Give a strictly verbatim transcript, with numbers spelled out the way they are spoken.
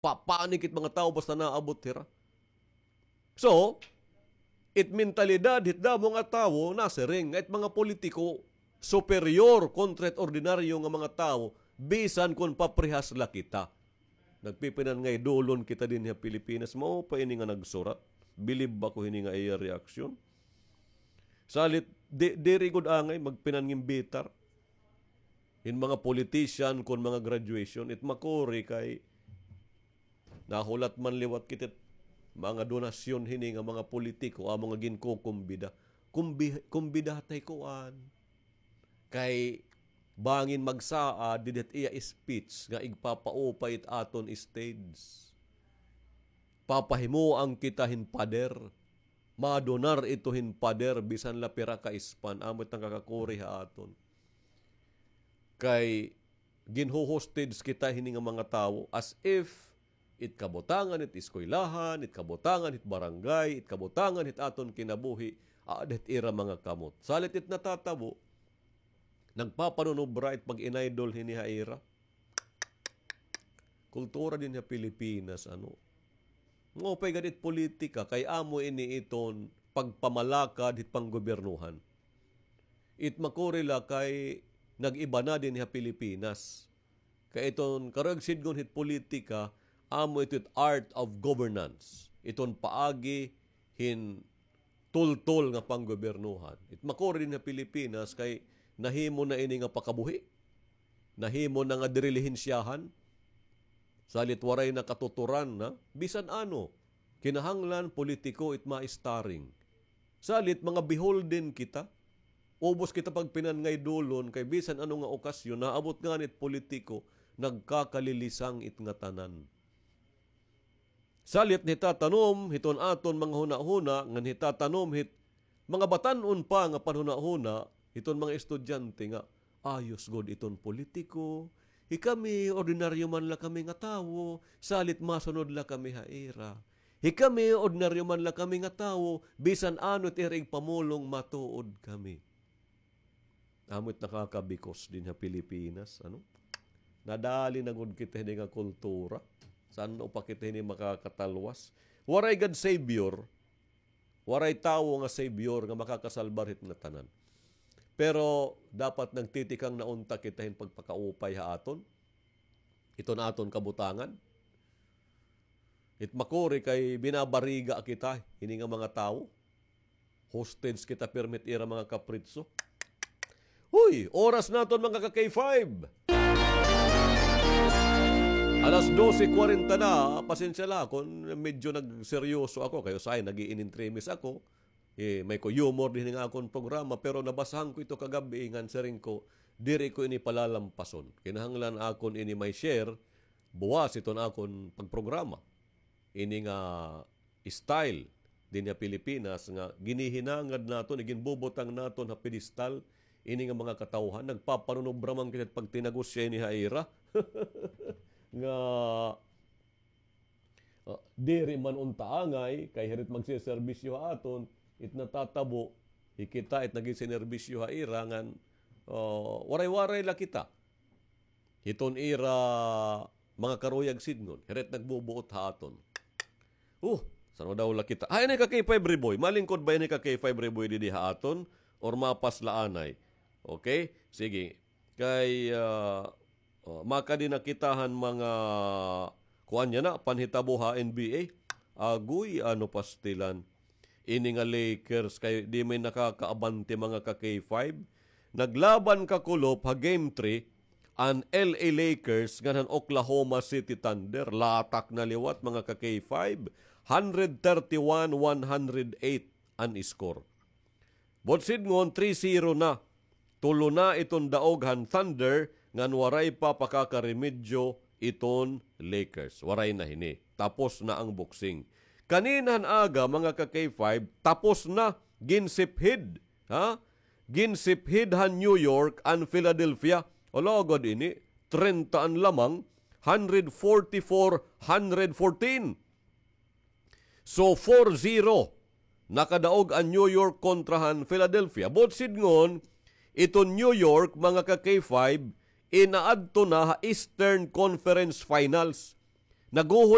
Papanik it mga tawo basta naabot hira. So, it mentalidad hit damo nga tawo nasiring nga it mga politiko superior kontra it ordinaryo nga mga tawo, bisan kon paprehas la kita. Nagpipinangaydulon kita dinhi ha Pilipinas. Mao pa ini nga nagsurat. Bilib ako hini nga iya reaksyon. Salit, di, diri gud angay magpinangimbitar hin mga politician kon mga graduation. It makuri kay nahulat man liwat kita it mga donasyon hini nga mga politiko, amo nga ginkukumbida. Kumbi-, kumbida tay kuan. Kay bangin magsaad didi hit iya speech nga igpapaupay it aton stage. Papahimoan kita hin pader. Madonar ito hin pader bisan la pira ka ispan. Amo it nakakakuri ha aton. Kay ginho-hostage kita hini nga mga tawo as if it kabutangan hit eskwelahan, it kabutangan hit barangay, it kabutangan hit aton kinabuhi, aada hit ira mga kamot. Salit it natatabo, nagpapanunubra it pag-inaydol hini ha ira. Kultura dinhi ha Pilipinas, ano. Maupay gad it politika, kay amo ini iton pagpamalakad hit panggobyernohan. It makuri la kay nag-iba na dinhi ha Pilipinas. Kay iton karuyag sidngon hit politika, amo ito it art of governance. Iton paagi hin tultol nga panggobyernohan. It makuri dinhi ha Pilipinas kay nahimo na ini nga pakabuhi. Nahimo na nga diri lihensyahan. Salit waray na katuturan na. Bisan ano, kinahanglan politiko it ma-starring. Salit mga beholden kita. Ubos kita pagpinangaydulon kay bisan ano nga okasyon, naabot ngani it politiko, nagkakalilisang it ngatanan. Salit nitatanom hiton aton mga hunahuna, ngan hitatanom hit mga batan-on pa nga panhunahuna hiton mga estudyante nga ayos gud iton politiko. Hikami, ordinaryo man la kami nga tawo, salit masunod la kami ha ira. Hikami, ordinaryo man la kami nga tawo, bisan ano it ira igpamulong, matuod kami. Amo it nakakabikos dinhi ha Pilipinas, ano? Nadali na gud kita hini nga kultura. San-o pa kita hini makakatalwas? Waray gad savior. Waray tawo nga savior nga makakasalbar hit ngatanan. Pero dapat nagtitikang na unta kita hin pagpakaupay ha aton. Iton aton kabutangan. It makuri kay binabariga kita hini nga mga tawo. Hostage kita pirmi hit ira mga kapritso. Uy, oras naton, mga ka-K five. Alas dose kwarenta na, pasensya la kon medyo nagseryoso ako, kay usahay nag-iinintremis ako. Eh, may ko humor dinhi nga akon programa, pero nabasahan ko ito kagab-i, ngan siring ko, diri ko ini palalampason. Kinahanglan akon ini may share, buwas iton akon pagprograma. Ini nga style dinhi ha Pilipinas nga ginihinangad naton, iginbubutang naton ha pedestal ini nga mga katawhan. Nagpapanunobra man kita pagtinagos siya ini ha ira. Nga, ah, diri man unta angay, kay hira it magsiserbisyo ha aton, it natatabo, hi kita it nagsiserbisyo ha ira, ngan, ah, waray-waray la kita. Hiton ira mga karuyag sidngon, hira it nagbubuot ha aton. Uh, san-o daw la kita? Ah, ini ka K five Reboy. Malingkod ba ini ka K five Reboy didi ha aton? Or mapas la anay? Okay? Sige. Kay, ah, oh, makadi na kita han mga kuan niya na, panhitabo ha N B A. Agoy, ano pastilan. Ini nga Lakers kay di may nakakaabante, mga ka-K five. Naglaban kakulop ha Game three an L A Lakers ngan han Oklahoma City Thunder. Latak na liwat, mga ka-K five. Hundred thirty-one, one hundred eight an score. Buot sidngon, three zero na. Tulo na iton daog han Thunder, ngan waray pa pakakaremedyo iton Lakers. Waray na hini. Tapos na ang boxing. Kanina han aga, mga ka-K five, tapos na. Ginsipid. Ha? Ginsipid han New York an Philadelphia. Alagad ini, trenta an lamang, hundred forty-four, hundred fourteen. So, four zero, nakadaog an New York kontra han Philadelphia. Buot sidngon, iton New York, mga ka-K five, inaadto na ha Eastern Conference Finals. Naguhol